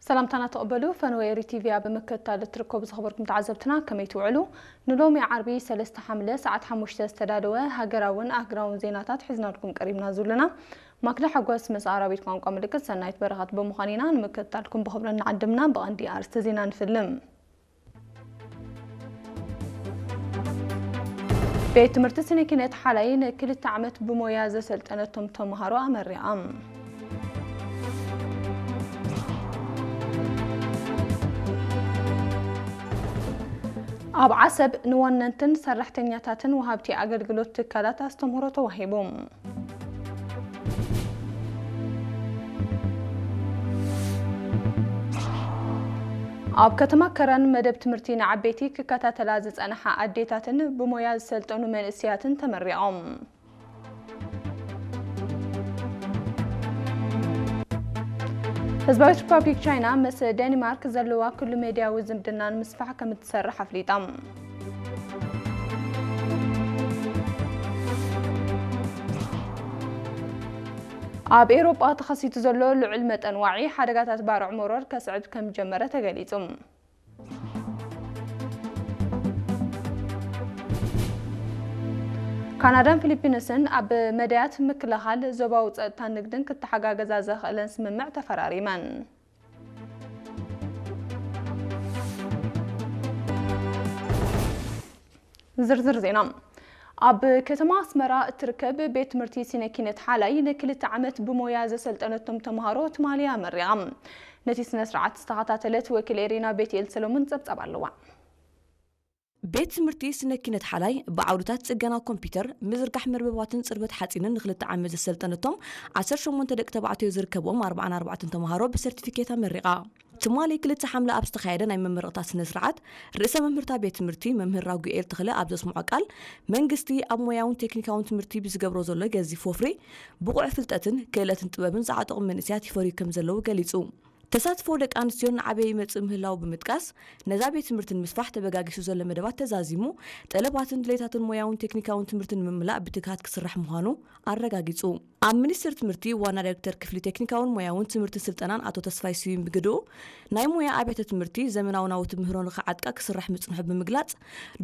ሰላምታና ተቐበሉ። ፈነወ ኤሪ ቲቪ ኣብ ምክትታል እትርከቡ ዝኸበርኩም ተዓዘብትና ከመይ ትውዕሉ? ንሎሚ ዓርቢ ሰለስተ ሓምለ ሰዓት ሓሙሽተ ዝተዳለወ ሃገራውን ኣህጉራውን ዜናታት ሒዝናልኩም ቀሪብና ዘለና። ማክዳ ሓጎስ ምስ ኣራዊት ቋንቋ ምልክት ሰናይት በረኸት ብምዃን ኢና ንምክትታልኩም ብኽብሪ ንዓድምና። ብቐንዲ ኣርእስቲ ዜና ንፍልም። ቤት ትምህርቲ ስነ ኪነት ሓላይ ንክልተ ዓመት ብሞያ ዘሰልጠነቶም ተምሃሮ ኣመሪቓ። ኣብ ዓሰብ ንወነንትን ሰራሕተኛታትን ወሃብቲ ኣገልግሎት ትካላት ኣስተምህሮ ተዋሂቡ። ኣብ ከተማ ከረን መደብ ትምህርቲ ንዓበይቲ ክከታተላ ዝጸንሓ ኣዴታትን ብሞያ ዝሰልጠኑ መንእሰያትን ተመሪቖም። ህዝባዊት ሪፓብሊክ ቻይና ምስ ዴንማርክ ዘለዋ ኩሉ ሜድያዊ ዝምድና ንምስፋሕ ከም እትሰርሕ ኣፍሊጣ። ኣብ ኤውሮጳ ተኸሲቱ ዘሎ ልዑል መጠን ዋዒ ሓደጋታት ባርዕ መሮር ከስዕብ ከም ጀመረ ተገሊጹ። ካናዳን ፊሊፒንስን ኣብ መዳያት ምክልኻል ዞባዊ ጸጥታን ንግድን ክተሓጋገዛ ዘኽእለን ስምምዕ ተፈራሪመን። ዝርዝር ዜና። ኣብ ከተማ ኣስመራ እትርከብ ቤት ትምህርቲ ስነ ኪነት ሓላይ ንክልተ ዓመት ብሞያ ዘሰልጠነቶም ተምሃሮ ትማሊ ኣመሪቓ። ነቲ ስነ ስርዓት ዝተኸታተለት ወኪል ኤሪና ቤትኤል ሰሎሞን ጸብጻብ ኣለዋ። ቤት ትምህርቲ ስነ ኪነት ሓላይ ብዓውድታት ጽገና ኮምፒውተር፣ ምዝርጋሕ መርበባትን ጽርበት ሓጺንን ንክልተ ዓመት ዘሰልጠነቶም ዓሰርተ ሸሞንተ ደቂ ተባዕትዮ ዝርከብዎም ኣርባዓን ኣርባዕተን ተምሃሮ ብሰርቲፊኬት ኣመሪቓ። ትማሊ ክልተ ሓምለ ኣብ ዝተኻየደ ናይ መመረቕታ ስነ ስርዓት፣ ርእሰ መምህርታ ቤት ትምህርቲ መምህር ራጉኤል ተኽለ ኣብ ዘስምዖ ቃል፣ መንግስቲ ኣብ ሞያውን ቴክኒካውን ትምህርቲ ብዝገብሮ ዘሎ ገዚፍ ወፍሪ፣ ብቑዕ ፍልጠትን ክእለትን ጥበብን ዝዓጠቑ መንእሰያት ይፈርዩ ከም ዘለዉ ገሊጹ። ተሳትፎ ደቂ ኣንስትዮን ንዓበየ ይመጽእ ምህላዉ ብምጥቃስ፣ ነዛ ቤት ትምህርቲ ንምስፋሕ ተበጋጊሱ ዘሎ መደባት ተዛዚሙ፣ ጠለባትን ድሌታትን ሞያውን ቴክኒካውን ትምህርቲ ንምምላእ ብትግሃት ክስራሕ ምዃኑ ኣረጋጊጹ። ኣብ ሚኒስቴር ትምህርቲ ዋና ዳይሬክተር ክፍሊ ቴክኒካውን ሞያውን ትምህርትን ስልጠናን ኣቶ ተስፋይ ስዩም ብግድኡ፣ ናይ ሞያ ኣብያተ ትምህርቲ ዘመናዊ ናውቲ ምህሮ ንኽዓጥቃ ክስራሕ ምጽንሑ ብምግላጽ፣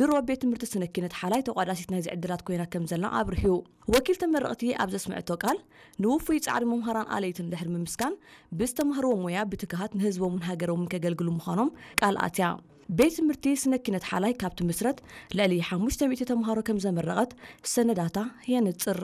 ድሮ ቤት ትምህርቲ ስነ ኪነት ሓላይ ተቋዳሲት ናይዚ ዕድላት ኮይና ከም ዘላ ኣብርሂኡ። ወኪል ተመረቕቲ ኣብ ዘስምዐቶ ቃል፣ ንውፉይ ጻዕሪ መምሃራን ኣለይትን ድሕሪ ምምስጋን፣ ብዝተማህርዎ ሞያ ብትግሃት ንህዝቦምን ሃገሮምን ከገልግሉ ምዃኖም ቃል ኣትያ። ቤት ትምህርቲ ስነ ኪነት ሓላይ ካብ ትምስረት ልዕሊ ሓሙሽተ ሚእቲ ተምሃሮ ከም ዘመረቐት ሰነዳታ የንጽር።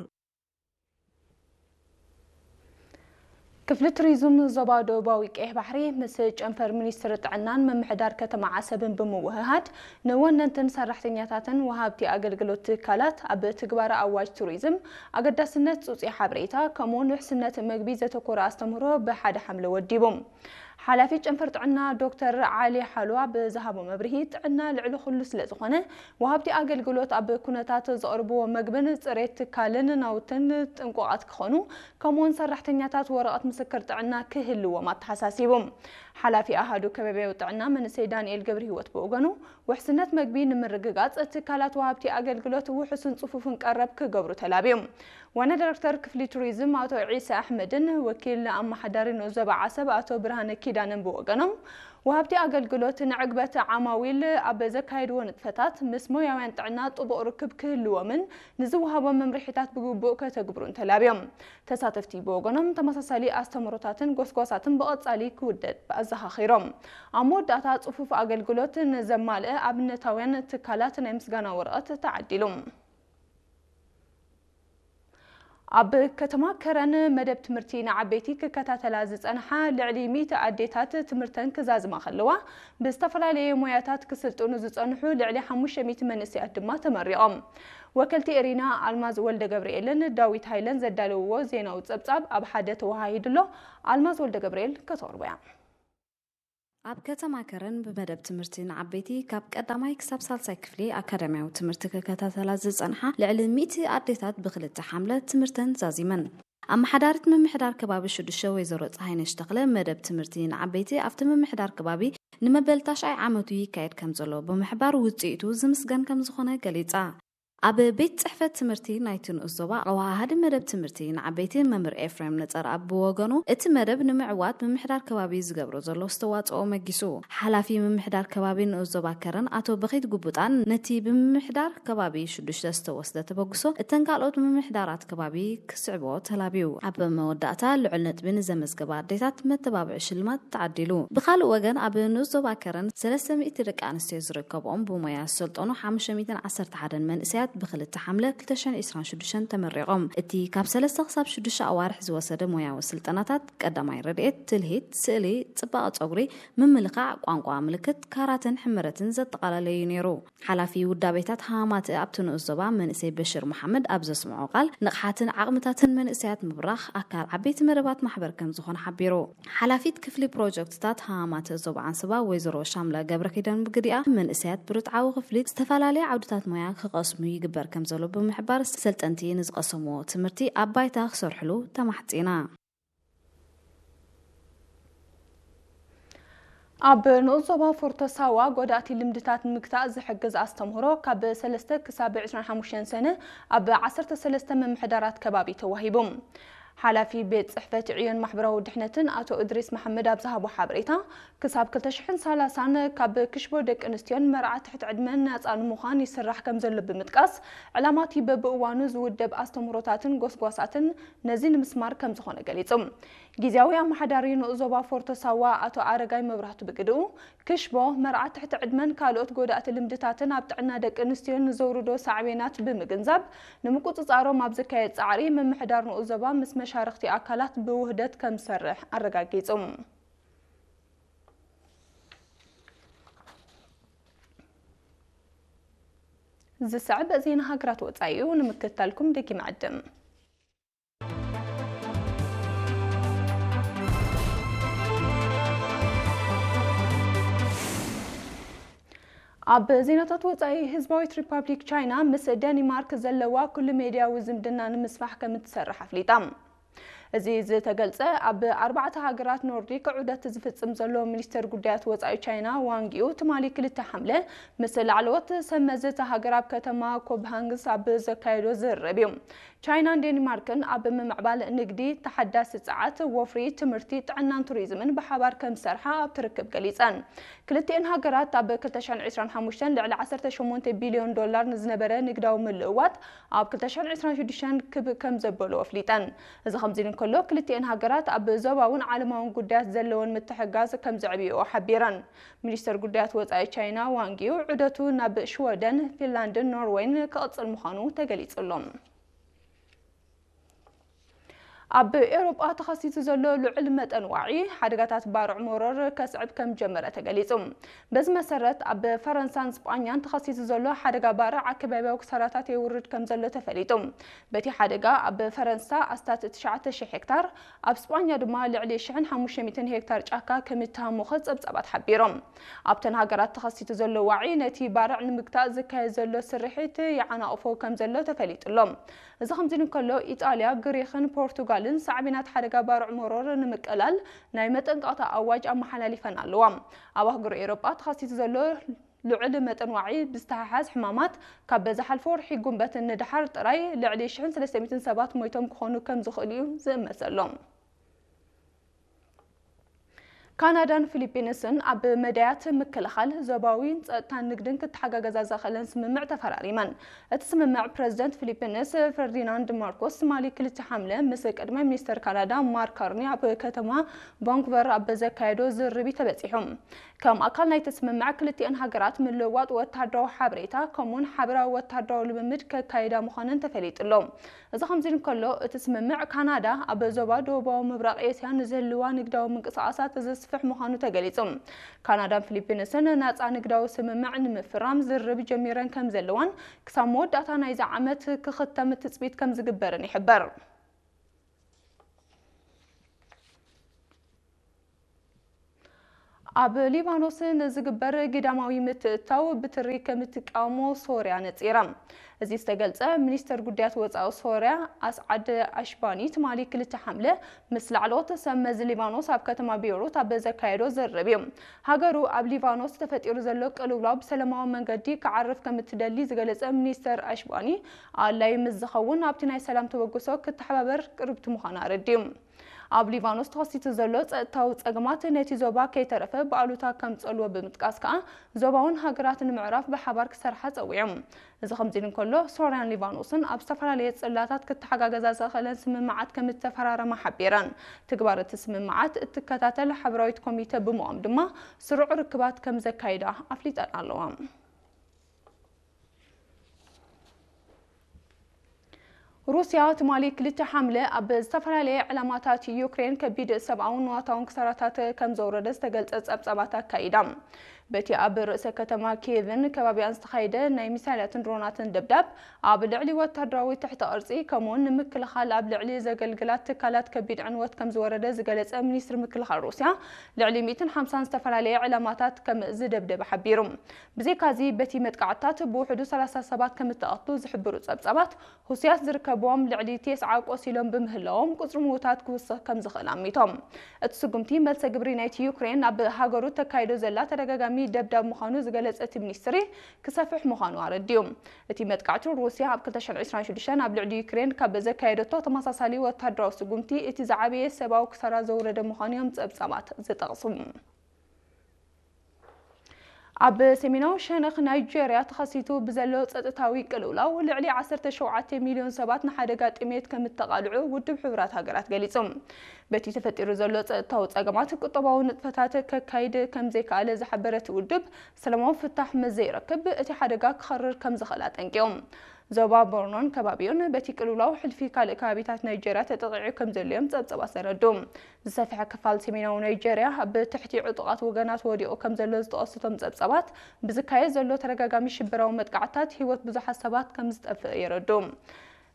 ክፍሊ ቱሪዝም ዞባ ደቡባዊ ቀይሕ ባሕሪ ምስ ጨንፈር ሚኒስትሪ ጥዕናን ምምሕዳር ከተማ ዓሰብን ብምውህሃድ ንወነንትን ሰራሕተኛታትን ወሃብቲ ኣገልግሎት ትካላት ኣብ ትግባረ ኣዋጅ ቱሪዝም ኣገዳስነት ጽውጽይ ሓበሬታ ከምኡውን ውሕስነት መግቢ ዘተኮረ ኣስተምህሮ ብሓደ ሓምለ ወዲቡ። ሓላፊ ጨንፈር ጥዕና ዶክተር ዓሊ ሓሉዋ ብዝሃቦ መብርሂ፣ ጥዕና ልዕሊ ኩሉ ስለ ዝኾነ፣ ወሃብቲ ኣገልግሎት ኣብ ኩነታት ዘቕርብዎ መግብን ጽሬት ትካልን ናውትን ጥንቁቓት ክኾኑ፣ ከምኡውን ሰራሕተኛታት ወረቐት ምስክር ጥዕና ክህልዎም ኣተሓሳሲቡ። ሓላፊ ኣሃዱ ከባቢያዊ ጥዕና መንእሰይ ዳንኤል ገብረህይወት ብወገኑ፣ ውሕስነት መግቢ ንምርግጋጽ ትካላት ወሃብቲ ኣገልግሎት ውሑስን ጽፉፍን ቀረብ ክገብሩ ተላብዩ። ዋና ዳይሬክተር ክፍሊ ቱሪዝም ኣቶ ዒሳ ኣሕመድን ወኪል ኣመሓዳሪ ንኡስ ዞባ ዓሰብ ኣቶ ብርሃነ ኪዳነን ብወገኖም፣ ወሃብቲ ኣገልግሎት ንዕግበት ዓማዊል ኣብ ዘካየድዎ ንጥፈታት ምስ ሞያውያን ጥዕና ጥቡቕ ርክብ ክህልዎምን ንዝወሃቦም መምርሒታት ብግቡእ ከተግብሩን ተላብዮም። ተሳተፍቲ ብወገኖም፣ ተመሳሳሊ ኣስተምህሮታትን ጎስጓሳትን ብቐጻሊ ክውደድ ኣዘኻኺሮም። ኣብ መወዳእታ፣ ጽፉፍ ኣገልግሎት ንዘማልአ ኣብነታውያን ትካላት ናይ ምስጋና ወረቐት ተዓዲሉ። ኣብ ከተማ ከረን መደብ ትምህርቲ ንዓበይቲ ክከታተላ ዝጸንሓ ልዕሊ ሚእቲ ኣዴታት ትምህርተን ክዛዝማ ከለዋ፣ ብዝተፈላለየ ሞያታት ክስልጥኑ ዝጸንሑ ልዕሊ ሓሙሽተ ሚእቲ መንእሰያት ድማ ተመሪቖም። ወከልቲ ኤሪና ኣልማዝ ወልደ ገብርኤልን ዳዊት ሃይለን ዘዳለውዎ ዜናዊ ጸብጻብ ኣብ ሓደ ተወሃሂዱ ኣሎ። ኣልማዝ ወልደ ገብርኤል ከተቕርቦ እያ። ኣብ ከተማ ከረን ብመደብ ትምህርቲ ንዓበይቲ ካብ ቀዳማይ ክሳብ ሳልሳይ ክፍሊ ኣካዳሚያዊ ትምህርቲ ክከታተላ ዝጸንሓ ልዕሊ ሚእቲ ኣዴታት ብክልተ ሓምለ ትምህርተን ዛዚመን። ኣመሓዳሪት ምምሕዳር ከባቢ ሽዱሽተ ወይዘሮ ፀሃይነሽ ተኽለ፣ መደብ ትምህርቲ ንዓበይቲ ኣብቲ ምምሕዳር ከባቢ ንመበል ታሽዓይ ዓመቱ ይካየድ ከም ዘሎ ብምሕባር፣ ውፅኢቱ ዝምስገን ከም ዝኾነ ገሊፃ። ኣብ ቤት ጽሕፈት ትምህርቲ ናይቲ ንኡስ ዞባ ኣወሃሃዲ መደብ ትምህርቲ ንዓበይቲ መምህር ኤፍሬም ነጸርኣብ ብወገኑ፣ እቲ መደብ ንምዕዋት ምምሕዳር ከባቢ ዝገብሮ ዘሎ ኣስተዋጽኦ መጊሱ። ሓላፊ ምምሕዳር ከባቢ ንኡስ ዞባ ከረን ኣቶ በኺት ጉቡጣን ነቲ ብምምሕዳር ከባቢ ሽዱሽተ ዝተወስደ ተበግሶ እተን ካልኦት ምምሕዳራት ከባቢ ክስዕቦ ተላብዩ። ኣብ መወዳእታ ልዑል ነጥቢ ንዘመዝገባ ኣዴታት መተባብዒ ሽልማት ተዓዲሉ። ብኻልእ ወገን ኣብ ንኡስ ዞባ ከረን ሰለስተ ሚእቲ ደቂ ኣንስትዮ ዝርከብኦም ብሞያ ዝሰልጠኑ ሓሙሽተ ሚእትን ዓሰርተ ሓደን መንእሰያት ብክልተ ሓምለ ክልተ ሽሕን ዕስራን ሽዱሽተን ተመሪቖም። እቲ ካብ ሰለስተ ክሳብ ሽዱሽተ ኣዋርሕ ዝወሰደ ሞያዊ ስልጠናታት ቀዳማይ ረድኤት፣ ትልሂት፣ ስእሊ፣ ጽባቐ ጸጉሪ፣ ምምልኻዕ፣ ቋንቋ ምልክት፣ ካራተን ሕመረትን ዘጠቓለለ እዩ ነይሩ። ሓላፊ ውዳቤታት ሃማማተ ኣብቲ ንኡስ ዞባ መንእሰይ በሽር መሓመድ ኣብ ዘስምዖ ቃል፣ ንቕሓትን ዓቕምታትን መንእሰያት ምብራኽ ኣካል ዓበይቲ መደባት ማሕበር ከም ዝኾነ ሓቢሩ። ሓላፊት ክፍሊ ፕሮጀክትታት ሃማማተ ዞባ ዓንሰባ ወይዘሮ ሻምላ ገብረኪዳን ብግዲኣ፣ መንእሰያት ብርትዓዊ ክፍሊት ዝተፈላለየ ዓውድታት ሞያ ክቐስሙ ይግበር ከም ዘሎ ብምሕባር፣ ሰልጠንቲ ንዝቐሰምዎ ትምህርቲ ኣብ ባይታ ክሰርሕሉ ተማሕጺና። ኣብ ንኡስ ዞባ ፎርቶ ሳዋ ጎዳእቲ ልምድታት ንምግታእ ዝሕግዝ ኣስተምህሮ ካብ ሰለስተ ክሳብ ዕስራን ሓሙሽተን ሰነ ኣብ ዓሰርተ ሰለስተ ምምሕዳራት ከባቢ ተዋሂቡ። ሓላፊ ቤት ጽሕፈት ዕዮን ማሕበራዊ ድሕነትን ኣቶ እድሪስ መሓመድ ኣብ ዝሃቦ ሓበሬታ፣ ክሳብ ክልተ ሽሕን ሰላሳን ካብ ክሽቦ ደቂ ኣንስትዮን መርዓ ትሕቲ ዕድመን ናጻ ንምዃን ይስራሕ ከም ዘሎ ብምጥቃስ፣ ዕላማ እቲ በብእዋኑ ዝውደብ ኣስተምህሮታትን ጎስጓሳትን ነዚ ንምስማር ከም ዝኾነ ገሊጹ። ግዝያዊ ኣመሓዳሪ ንኡስ ዞባ ፎርቶ ሳዋ ኣቶ ኣረጋይ መብራህቱ ብግድኡ፣ ክሽቦ፣ መርዓ ትሕቲ ዕድመን ካልኦት ጎዳእቲ ልምድታትን ኣብ ጥዕና ደቂ ኣንስትዮ ንዘውርዶ ሳዕቤናት ብምግንዛብ፣ ንምቁጽጻሮም ኣብ ዝካየድ ጻዕሪ ምምሕዳር ንኡስ ዞባ ምስ መሻርኽቲ ኣካላት ብውህደት ከም ዝሰርሕ ኣረጋጊጹ። ዝስዕብ ዜና ሃገራት ወጻኢ እዩ፣ ንምክትታልኩም ደጊመ ዕድም። ኣብ ዜናታት ወጻኢ፣ ህዝባዊት ሪፓብሊክ ቻይና ምስ ደኒማርክ ዘለዋ ኩሉ ሜድያዊ ዝምድና ንምስፋሕ ከም እትሰርሕ ኣፍሊጣ። እዚ ዝተገልጸ ኣብ ኣርባዕተ ሃገራት ኖርዲክ ዑደት ዝፍጽም ዘሎ ሚኒስተር ጉዳያት ወጻኢ ቻይና ዋንግ ዩ፣ ትማሊ ክልተ ሓምለ ምስ ላዕለዎት ሰብ መዚ እታ ሃገር ኣብ ከተማ ኮፕሃንግስ ኣብ ዘካየዶ ዝርርብ እዩ። ቻይናን ዴንማርክን ኣብ ምምዕባል ንግዲ፣ ተሓዳሲ ጸዓት፣ ወፍሪ፣ ትምህርቲ፣ ጥዕናን ቱሪዝምን ብሓባር ከም ዝሰርሓ ኣብቲ ርክብ ገሊጸን። ክልቲኤን ሃገራት ኣብ ክልተ ሽሕን ዕስራን ሓሙሽተን ልዕሊ ዓሰርተ ሸሞንተ ቢልዮን ዶላር ንዝነበረ ንግዳዊ ምልእዋጥ ኣብ ክልተ ሽሕን ዕስራን ሽዱሽተን ክብ ከም ዘበሉ ኣፍሊጠን። እዚ ከምዚ ኢሉ እንከሎ፣ ክልቲኤን ሃገራት ኣብ ዞባውን ዓለማውን ጉዳያት ዘለወን ምትሕግጋዝ ከም ዘዕብይኦ ሓቢረን። ሚኒስተር ጉዳያት ወጻኢ ቻይና ዋንግ ዩ ዑደቱ ናብ ሽወደን፣ ፊንላንድን ኖርወይን ክቕጽል ምዃኑ ተገሊጹ ኣሎ። ኣብ ኤውሮጳ ተኸሲቱ ዘሎ ልዑል መጠን ዋዒ ሓደጋታት ባርዕ መሮር ከስዕብ ከም ጀመረ ተገሊጹ። በዚ መሰረት፣ ኣብ ፈረንሳን ስጳኛን ተኸሲቱ ዘሎ ሓደጋ ባርዕ ኣከባቢያዊ ክሳራታት የውርድ ከም ዘሎ ተፈሊጡ። በቲ ሓደጋ፣ ኣብ ፈረንሳ ኣስታት ትሽዓተ ሽሕ ሄክታር፣ ኣብ ስጳኛ ድማ ልዕሊ ሽሕን ሓሙሽተ ሚእትን ሄክታር ጫካ ከም እተሃሞኸ ጸብጻባት ሓቢሮም። ኣብተን ሃገራት ተኸሲቱ ዘሎ ዋዒ፣ ነቲ ባርዕ ንምግታእ ዝካየድ ዘሎ ስርሒት ይዓናቕፎ ከም ዘሎ ተፈሊጡ ኣሎ። እዚ ከምዚ ኢሉ እንከሎ፣ ኢጣልያ፣ ግሪኽን ፖርቱጋልን ሳዕቤናት ሓደጋ ባርዕ መሮር ንምቅላል ናይ መጠንቀቕታ ኣዋጅ ኣመሓላሊፈን ኣለዋ። ኣብ ኣህጉር ኤውሮጳ ተኸሲቱ ዘሎ ልዑል መጠን ዋዒ ብዝተሓሓዝ ሕማማት፣ ካብ ዝሓለፈ ወርሒ ጉንበት ንደሓር ጥራይ ልዕሊ ሽሕን ሰለስተ ሚእትን ሰባት ሞይቶም ክኾኑ ከም ዝኽእሉ እዩ ዝእመት ዘሎ። ካናዳን ፊሊፒንስን ኣብ መዳያት ምክልኻል፣ ዞባዊ ጸጥታን ንግድን ክተሓጋገዛ ዘኽእለን ስምምዕ ተፈራሪመን። እቲ ስምምዕ፣ ፕረዚደንት ፊሊፒንስ ፈርዲናንድ ማርኮስ ትማሊ ክልተ ሓምለ ምስ ቀዳማይ ሚኒስተር ካናዳ ማርክ ካርኒ ኣብ ከተማ ቫንኩቨር ኣብ ዘካየዶ ዝርርብ እዩ ተበጺሑ። ከም ኣካል ናይቲ ስምምዕ፣ ክልቲኤን ሃገራት ምልውዋጥ ወተሃደራዊ ሓበሬታ ከምኡውን ሓበራዊ ወተሃደራዊ ልምምድ ከካይዳ ምዃነን ተፈሊጡ ኣሎ። እዚ ከምዚ ኢሉ እንከሎ፣ እቲ ስምምዕ፣ ካናዳ ኣብ ዞባ ደቡባዊ ምብራቕ ኤስያ ንዝህልዋ ንግዳዊ ምንቅስቓሳት ዘስፍሕ ምዃኑ ተገሊጹ። ካናዳን ፊሊፒንስን ናጻ ንግዳዊ ስምምዕ ንምፍራም ዝርርብ ጀሚረን ከም ዘለዋን፣ ክሳብ መወዳእታ ናይዚ ዓመት ክኽተም ትጽቢት ከም ዝግበርን ይሕበር። ኣብ ሊባኖስ ንዝግበር ግዳማዊ ምትእትታው ብትሪ ከም እትቃወሞ ሶርያ ነጺራ። እዚ ዝተገልጸ ሚኒስተር ጉዳያት ወጻኢ ሶርያ ኣስዓድ ኣሽባኒ ትማሊ ክልተ ሓምለ ምስ ላዕለዎት ሰብ መዚ ሊባኖስ ኣብ ከተማ ቤይሩት ኣብ ዘካየዶ ዝርርብ እዩ። ሃገሩ ኣብ ሊባኖስ ተፈጢሩ ዘሎ ቅልውላው ብሰላማዊ መንገዲ ክዓርፍ ከም እትደሊ ዝገለጸ ሚኒስተር ኣሽባኒ፣ ኣድላዪ ምስ ዝኸውን ኣብቲ ናይ ሰላም ተበግሶ ክተሓባበር ቅርብቲ ምዃና ኣረዲኡ። ኣብ ሊባኖስ ተኸሲቱ ዘሎ ጸጥታዊ ጸገማት ነቲ ዞባ ከይተረፈ ብኣሉታ ከምጸልዎ ብምጥቃስ ከኣ ዞባውን ሃገራት ንምዕራፍ ብሓባር ክሰርሓ ጸዊዑ። እዚ ከምዚ ኢሉ እንከሎ፣ ሶርያን ሊባኖስን ኣብ ዝተፈላለየ ጽላታት ክተሓጋገዛ ዘኽእለን ስምምዓት ከም እተፈራረማ ሓቢረን። ትግባር እቲ ስምምዓት እትከታተል ሓበራዊት ኮሚተ ብምቋም ድማ ስሩዕ ርክባት ከም ዘካይዳ ኣፍሊጠን ኣለዋ። ሩስያ ትማሊ ክልተ ሓምለ ኣብ ዝተፈላለየ ዕላማታት ዩክሬን ከቢድ ሰብኣውን ንዋታውን ክሳራታት ከም ዘውረደ ዝተገልጸ ጸብጻባት ኣካይዳ። በቲ ኣብ ርእሰ ከተማ ኪየቭን ከባቢኣን ዝተኻየደ ናይ ሚሳይላትን ድሮናትን ደብዳብ፣ ኣብ ልዕሊ ወታደራዊ ትሕቲ ቅርጺ ከምኡውን ንምክልኻል ኣብ ልዕሊ ዘገልግላ ትካላት ከቢድ ዕንወት ከም ዝወረደ ዝገለጸ ሚኒስትሪ ምክልኻል ሩስያ፣ ልዕሊ ሚእትን ሓምሳን ዝተፈላለየ ዕላማታት ከም ዝደብደበ ሓቢሩ። ብዘይካዚ፣ በቲ መጥቃዕትታት ብውሕዱ ሰላሳ ሰባት ከም እተቐትሉ ዝሕብሩ ጸብጻባት፣ ሁሲያት ዝርከብዎም ልዕሊ ቴስዓ ቆሲሎም ብምህላዎም፣ ቁጽሪ ምዉታት ክውስኽ ከም ዝኽእል ኣሚቶም። እቲ ስጉምቲ፣ መልሰ ግብሪ ናይቲ ዩክሬን ኣብ ሃገሩ ተካይዶ ዘላ ተደጋጋሚ ደብዳብ ምዃኑ ዝገለጸ እቲ ሚኒስትሪ፣ ክሰፍሕ ምዃኑ ኣረዲኡ። እቲ መጥቃዕቲ፣ ሩስያ ኣብ ክልተ ሽሕን ዕስራን ሽዱሽተን ኣብ ልዕሊ ዩክሬን ካብ ዘካየደቶ ተመሳሳሊ ወታደራዊ ስጉምቲ፣ እቲ ዝዓበየ ሰብኣዊ ክሳራ ዘውረደ ምዃኑ እዮም ጸብጻባት ዝጠቕሱ። ኣብ ሰሜናዊ ሸነኽ ናይጄርያ ተኸሲቱ ብዘሎ ጸጥታዊ ቅልውላው፣ ልዕሊ ዓሰርተ ሸውዓተ ሚልዮን ሰባት ንሓደጋ ጥሜት ከም እተቓልዑ ውድብ ሕቡራት ሃገራት ገሊጹ። በቲ ተፈጢሩ ዘሎ ጸጥታዊ ጸገማት፣ ቁጠባዊ ንጥፈታት ከካይድ ከም ዘይከኣለ ዝሓበረ እቲ ውድብ፣ ሰላማዊ ፍታሕ ምስ ዘይረክብ፣ እቲ ሓደጋ ክኸርር ከም ዝኽእል ኣጠንቂቑ። ዞባ ቦርኖን ከባቢኡን በቲ ቅልውላው ሕልፊ ካልእ ከባቢታት ናይጄርያ ተጠቒዑ ከም ዘሎ እዮም ጸብጻባት ዘረድኡ። ዝሰፍሐ ክፋል ሰሜናዊ ናይጄርያ ኣብ ትሕቲ ዕጡቓት ወገናት ወዲቑ ከም ዘሎ ዝጠቐሱ እቶም ጸብጻባት፣ ብዝካየድ ዘሎ ተደጋጋሚ ሽበራዊ መጥቃዕትታት ህይወት ብዙሓት ሰባት ከም ዝጠፍእ የረድኡ።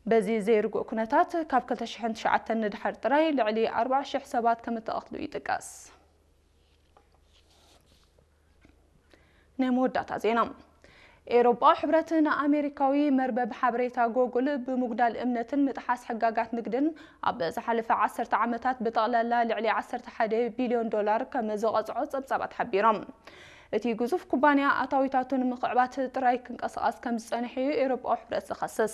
በዚ ዘይርጉእ ኩነታት፣ ካብ ክልተ ሽሕን ትሽዓተን ንድሓር ጥራይ ልዕሊ ኣርባዓ ሽሕ ሰባት ከም እተቐትሉ ይጥቀስ። ናይ መወዳእታ ዜና። ኤውሮጳዊ ሕብረት ንኣሜሪካዊ መርበብ ሓበሬታ ጎጉል ብምጉዳል እምነትን ምጥሓስ ሕጋጋት ንግድን ኣብ ዝሓለፈ ዓሰርተ ዓመታት ብጠቕላላ ልዕሊ ዓሰርተ ሓደ ቢልዮን ዶላር ከም ዝቐጽዖ ጸብጻባት ሓቢሮም። እቲ ግዙፍ ኩባንያ ኣታዊታቱ ንምኽዕባት ጥራይ ክንቀሳቐስ ከም ዝጸንሐ እዩ ኤውሮጳዊ ሕብረት ዝኸስስ።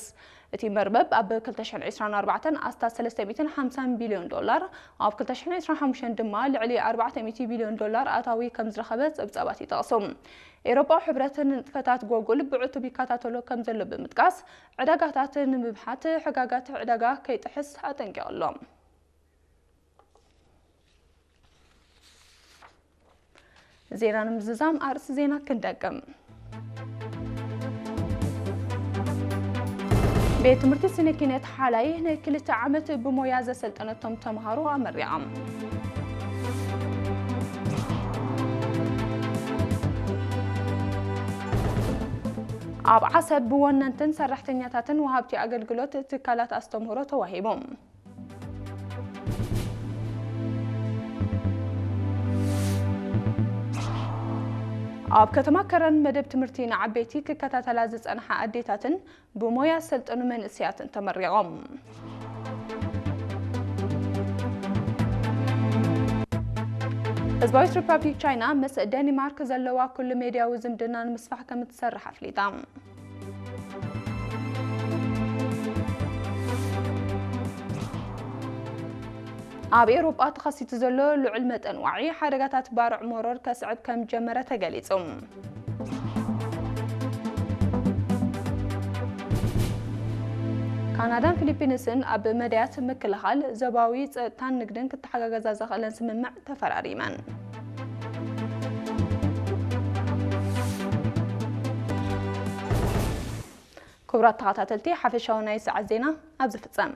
እቲ መርበብ ኣብ ክልተ ሽሕን ዕስራን ኣርባዕተን ኣስታት ሰለስተ ሚእትን ሓምሳን ቢልዮን ዶላር፣ ኣብ ክልተ ሽሕን ዕስራን ሓሙሽተን ድማ ልዕሊ ኣርባዕተ ሚእቲ ቢልዮን ዶላር ኣታዊ ከም ዝረኸበ ጸብጻባት ይጠቕሱ። ኤውሮጳዊ ሕብረት ንንጥፈታት ጎጉል ብዕቱብ ይከታተሎ ከም ዘሎ ብምጥቃስ፣ ዕዳጋታት ንምብሓት ሕጋጋት ዕዳጋ ከይጥሕስ ኣጠንቂቑ ኣሎ። ዜና ንምዝዛም ኣርእስቲ ዜና ክንደግም። ቤት ትምህርቲ ስነ ኪነት ሓላይ ናይ ክልተ ዓመት ብሞያ ዘሰልጠነቶም ተምሃሮ ኣመሪቖም። ኣብ ዓሰብ ብወነንትን ሰራሕተኛታትን ወሃብቲ ኣገልግሎት ትካላት ኣስተምህሮ ተዋሂቡ። ኣብ ከተማ ከረን መደብ ትምህርቲ ንዓበይቲ ክከታተላ ዝጸንሓ ኣዴታትን ብሞያ ዝሰልጠኑ መንእሰያትን ተመሪቖም። ህዝባዊት ሪፓብሊክ ቻይና ምስ ደኒማርክ ዘለዋ ኩሉ ሜድያዊ ዝምድና ንምስፋሕ ከም እትሰርሕ ኣፍሊጣ። ኣብ ኤውሮጳ ተኸሲቱ ዘሎ ልዑል መጠን ዋዒ ሓደጋታት ባርዕ መሮር ከስዕብ ከም ጀመረ ተገሊጹ። ካናዳን ፊሊፒንስን ኣብ መዳያት ምክልኻል፣ ዞባዊ ጸጥታን ንግድን ክተሓጋገዛ ዘኽእለን ስምምዕ ተፈራሪመን። ክቡራት ተኸታተልቲ፣ ሓፈሻዊ ናይ ሰዓት ዜና ኣብዚ ፍጸም።